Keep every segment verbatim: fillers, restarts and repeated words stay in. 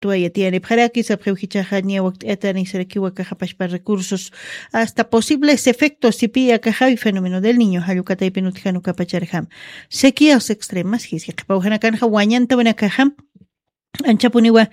tuwayatiyanipxaraki sapxiw jichaxa niya wakt'ayatani sarakiwa kaxapashpa recursos hasta posibles efectos sipiya kaxawi fenómeno del niño jallukataypin utjanu kapacharjam sequías extremas jiski qhipawjanakanxa wañantawinakaxam anchapuniwa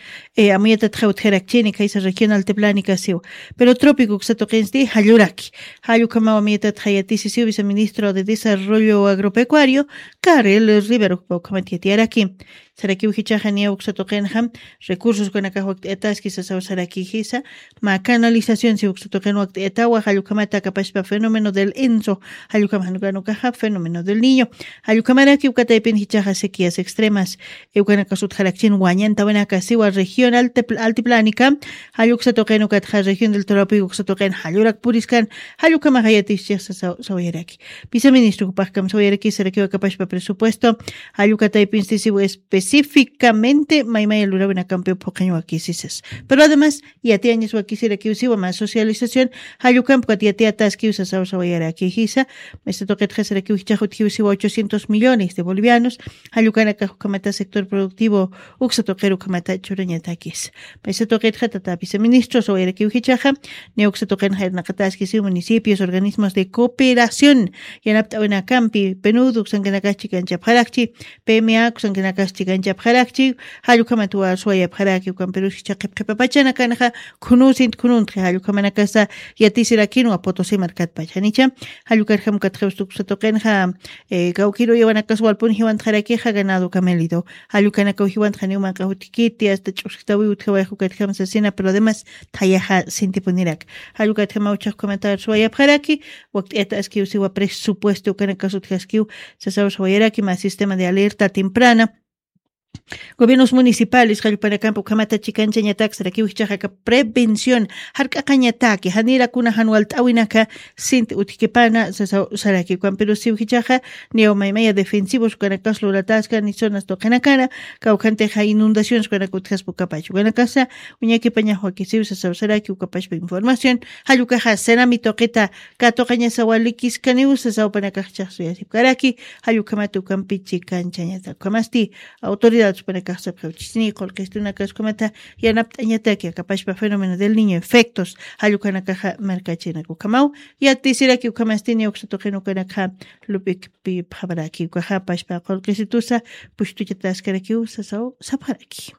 amuyatatxa utjarakchini kaysa regional teplánica siw pero trópico uksatuqinsti jalluraki. Jallukamawa amuyatatxa yatisisiw viceministro de desarrollo agropecuario Karel Rivero ukhamat yatiyaraki. Sarakiw jichaxa niya uksatuqinxam recursos kanakax wakt'ayataski sasaw saraki jisa mä canalización si uksatuqin wakt'ayatawa jallukhamata kapashpa fenómeno del enso jallukamanukanukaxa fenómeno del niño jallukhamaraki ukataypin jichaxa sequías extremas iwkanakas utjarakchin wañantawinaka siwa regional altiplánica. Jalluksa tuqin ukatxa región del trópico uksa tuqin jallurak puriskan. Jallukamaxa yatischix sawayaraki. Viceministro jupaxkam sawayaraki sarakiwa kapashpa presupuesto jallukataypinsti siwa específicamente maymaya lurawinakampiw phuqañ wakisisas. Pero además yatiyañas wakisirakiw siwa mä socialización jallukampukat yatiyataskiw sasaw sawayaraki jisa. Maysa tuqitxa sarakiw jichax utjiw siwa ochocientos millones de bolivianos jallukanakax ukhamata sector productivo uksa tuqir ukhamata churañatakis. Maysa tuqitxa tata viceministro sawayarakiw jichaxa niya uksa tuqin jayrnaqataskisiw municipios organismos de cooperación yanapt'awinakampi penud uksankanakax chikanchapxarakchi. Pma uksankanakax chikanchapxarakchi. Jallukhamat waswayapxaraki ukampirus jicha qhipqhipapachanakanxa khunusint khununtxi jallukhamanakasa yatisirakinwa potosi markatpach janicha. Jallukarjam ukatxawstukusa tuqinxa kawkiru yawanakas walpun jiwantxarakixa ganado camelido. Jallukanakaw jiwantxaniw manq'aw utkiti asta ch'usktawiw utjawayax ukatjam sasina pero además thayaxa sintipunirak. Jallukatjamaw chaqkumatar suwayapxaraki. Wakt'ayata askiw siwa presupuesto ukanakas utjaskiw sasaw sawayaraki mä sistema de alerta temprana gobiernos municipales jallupanakampa ukhamata chikanchañatak sarakiw jichaxa aka prevención jark'aqañataki janira kuna jan walt'awinaka sinti utjkipana sasaw saraki ukampiru siw jichaxa niyaw maymaya defensivos ukanakas lurataska ni zonas tuqinakana kawkhantixa inundaciones ukanaka utjaspa ukapach ukanakasa uñakipañax wakisiw sasaw saraki ukapachpa información. Jallukaxa senami tuqita katuqañasawa likiskaniw sasaw panakax chaxsuyasipkaraki. Jallukhamata ukampi chikanchañatak ukhamasti autoridades panakax sapxiwchisni qulqistunakax ukhamata yanapt'añataki akapashpa fenómeno del niño efectos jallukanakaxa markachinak ukhamaw. Yatisiraki ukhamasti niya uksa tuqin ukanakxa lup'ikpi phabraki ukaxa pashpa qulqisitusa pushtuchataskarakiw sasaw sapxaraki.